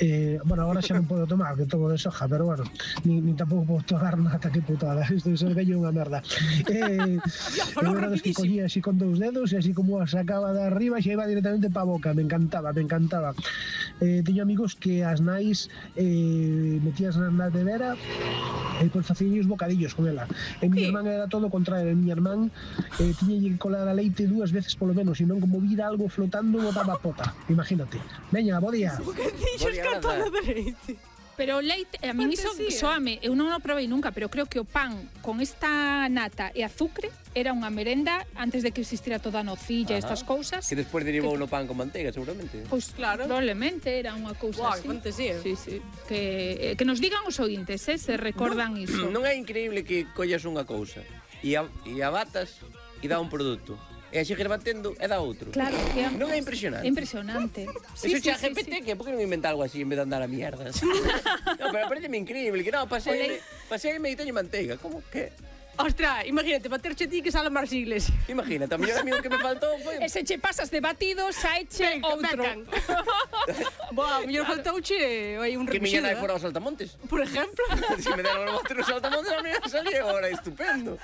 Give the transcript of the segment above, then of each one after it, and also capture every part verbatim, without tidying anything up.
Eh, bueno, agora xa non podo tomar, que tomo de soja, pero bueno, ni, ni tampouco podo tomar nada, que putada, isto de ser vello é unha merda. Eh, eu era dos que collía así con dous dedos e así como a sacaba de arriba xa iba directamente pa boca, me encantaba, me encantaba. Eh, teño amigos que as nais eh, metías na nevera e pois facían os bocadillos con ela. E mi irmán era todo o contrario, mi irmán eh, tiña que colar a leite dúas veces polo menos, e non como vira algo flotando botaba pota, imagínate. Veña, bo día. Bocadillos con todo de leite. Pero o leite, a mí iso soame, eu non o probei nunca, pero creo que o pan con esta nata e azucre era unha merenda antes de que existira toda a nocilla e estas cousas. Que despois derivou no pan con manteiga, seguramente. Pois claro, probablemente era unha cousa así. Guau, fantasía. Sí, sí. Que, que nos digan os ointes, eh, se recordan no, iso. Non é increíble que collas unha cousa e a, e a batas e dá un produto. E a seguir batendo e dá outro. Claro, que non é impresionante. É impresionante. Sí, Eso xa sí, G P T, sí, que por que non inventa algo así en vez de andar a mierdas? No, pero pareceme increíble, que non, pasei, pasei e teño manteiga, como que... Ostras, imagínate, baterche ti que sale Mar Sigles. Imagínate, a mellor amigo que me faltou foi... E se che pasas de batido, saeche outro. Boa, a mellor faltouche hai un recuxido. Que miña nai fora aos saltamontes. Por exemplo. Se me deron os bater os saltamontes, a mí salía agora, estupendo.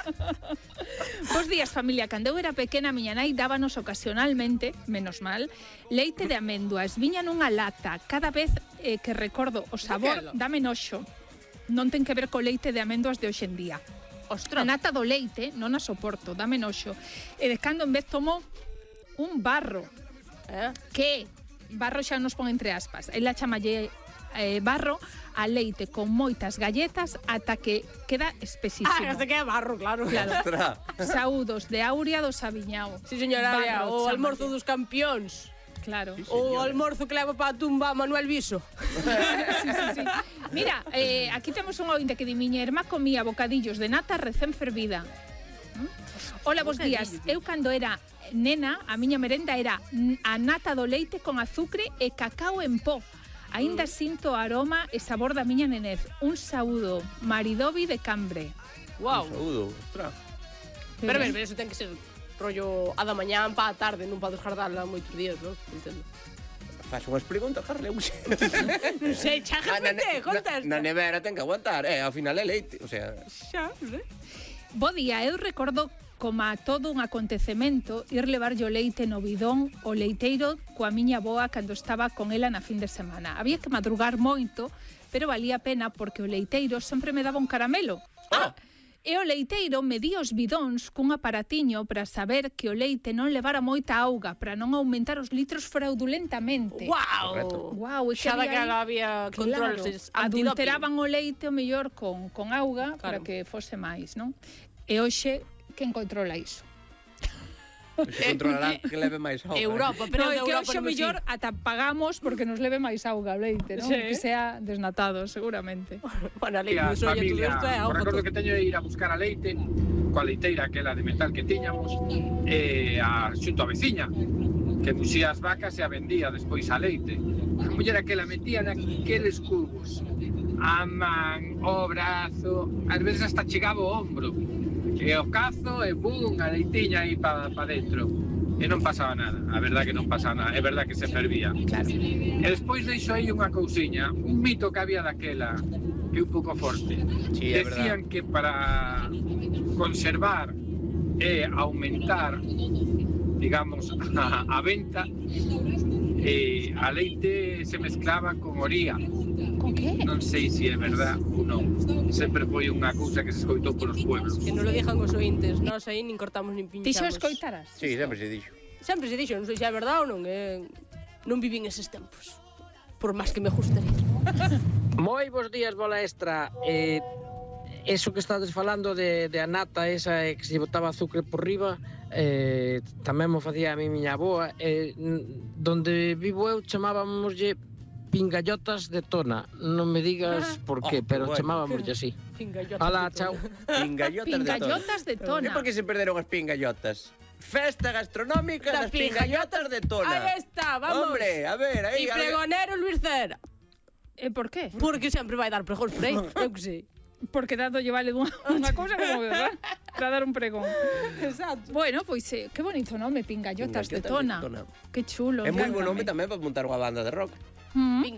Bos días, familia. Cando eu era pequena, miña nai dábanos ocasionalmente, menos mal, leite de amendoas. Viña nunha lata. Cada vez eh, que recordo o sabor, dame noxo. Non ten que ver co leite de amendoas de hoxe en día. Ostras. A nata do leite non a soporto, dame noxo. E de cando en vez tomo un barro, eh? que barro xa nos pon entre aspas. Ela chamalle eh, barro a leite con moitas galletas ata que queda espesísimo. Ah, hasta que é barro, claro. claro. Saúdos de Aurea do Sabiñao. Sí, señora, barro, o almorzo dos campións. Claro. Sí, o almorzo que leva para a tumba Manuel Viso. Sí, sí, sí. Mira, eh, aquí temos un ointe que di miña irmá comía bocadillos de nata recén fervida. ¿Mm? Hola, bos días. Eu cando era nena, a miña merenda era a nata do leite con azucre e cacao en pó. Aínda mm. sinto o aroma e sabor da miña nenez. Un saúdo, Maridovi de Cambre. Wow. Un saúdo, ostras. Pero, pero, pero eso ten que ser rollo a da mañán pa a tarde, non pa descardarla moitos días, non? Entendo. Faz unhas preguntas, Carle. Non sei, xa G P T, contesta. Na nevera ten que aguantar, eh, ao final é leite, o sea... Xa, non? Bo día, eu recordo como a todo un acontecemento ir levarlle o leite no bidón o leiteiro coa miña boa cando estaba con ela na fin de semana. Había que madrugar moito, pero valía a pena porque o leiteiro sempre me daba un caramelo. Ah! E o leiteiro medía os bidóns cun aparatiño para saber que o leite non levara moita auga, para non aumentar os litros fraudulentamente. Guau! Guau, e que xa había, daquela había controles claro, adulteraban o leite o mellor con, con auga, claro, para que fose máis, non? E hoxe, quen controla iso? Se controlará que leve máis auga. Europa, pero no, de que Europa hoxe mellor ata pagamos porque nos leve máis auga o leite, non? Sí. Que sea desnatado, seguramente. Bueno, a leite, iso todo isto é auga. Recordo que teño de ir a buscar a leite coa leiteira aquela de metal que tiñamos e a xunto a veciña que muxía as vacas e a vendía despois a leite. A muller aquela metía naqueles cubos a man, o brazo, ás veces hasta chegaba o ombro. E o cazo e bum, a leitiña aí para pa dentro. E non pasaba nada, a verdad que non pasaba nada, é verdad que se fervía. Claro. E despois deixo aí unha cousiña, un mito que había daquela, que é un pouco forte. Sí, é Decían verdad. que para conservar e aumentar, digamos, a, a venta, eh, a leite se mezclaba con oría. Con que? Non sei se é verdad ou non. Sempre foi unha cousa que se escoitou polos pueblos. Que non lo dixan os ointes, nós aí nin cortamos nin pinchamos. Ti xo escoitaras? Sí, sempre se dixo. Sempre se dixo, non sei se é verdade ou non, eh, non vivín eses tempos. Por máis que me gustaría. Moi bons días, bola extra. Eh, eso que estades falando de, de a nata esa que se botaba azúcar por riba, eh, tamén mo facía a mi miña aboa. Eh, donde vivo eu chamábamoslle pingallotas de tona. Non me digas por qué, Oh, pero bueno. chamábamoslle así. Pingallotas. Alá, chao. Pingallotas, Pingallotas de de tona. tona. E por que se perderon as pingallotas? Festa gastronómica das pingallotas de tona. Aí está, vamos. Hombre, a ver, aí... E pregonero Luis Cera. E por qué? Porque sempre vai dar pregóns por aí, eu que sei. Porque dado lle vale dunha, unha cousa como verdad para dar un pregón. Exacto. Bueno, pois eh, que bonito nome, pingallotas, Pingallotas de tona. de tona. Que chulo. É moi bo encántame. nome tamén para montar unha banda de rock. Mm. Pinga